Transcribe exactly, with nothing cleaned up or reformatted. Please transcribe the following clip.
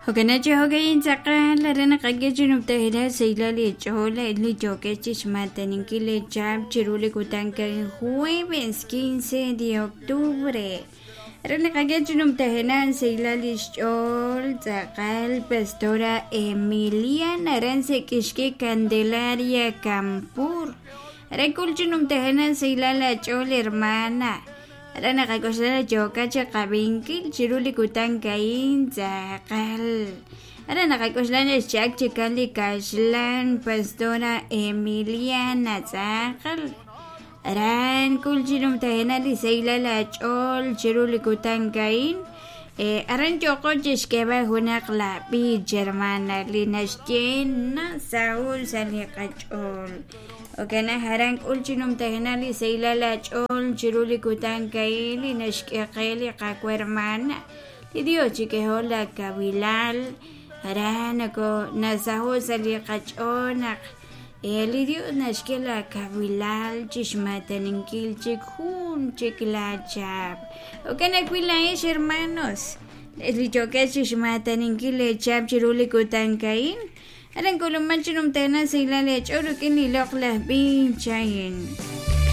Jo'kan chi jo'kan tz'aqal re naqak'e chi numtajenaq sahilal li ch'ool li yookeb' chixmataninkil li chab' chiru li kutan jueves quince de octubre. Re naqak'e chi numtajenaq sahilal li xch'ool tz'aqal Pastora Emiliana ran sek'ixki Candelaria Campur. Re kul chi numtajenaq sahilal la ch'ool hermana. Re naqak'oxla yooka chi qab'inkil chiru li kutan ka'in tz'aqal. Re naqak'oxla xchak chikan li kaxlan Pastora Emiliana tz'aqal. Ran kul chi numtajenaq li sahilal la ch'ool chiru li kutan ka'in. Aran yooqo chixk'eb'al junaq la b'ich hermana li naxye na Saúl sa' li qach'ool. Okana haran k'ul chi numtajenaq li sahilal la ch'ool chiru li kutan ka'in li naxk'e qe li qawa hermana. Li Dios chik'eho la kabilal aran nako nasaho sa' li qach'ool naq li Dios naxk'e la kabilal chixmataninkil chik jun chik la chab'. Okana wi laa'ex hermanos li yookeb' chixmataninkil li chab' chiru li kutan ka'in. Aran k'uluman chi numtajenaq sahilal li ch'ool rik'in li loq'laj b'ich a'in.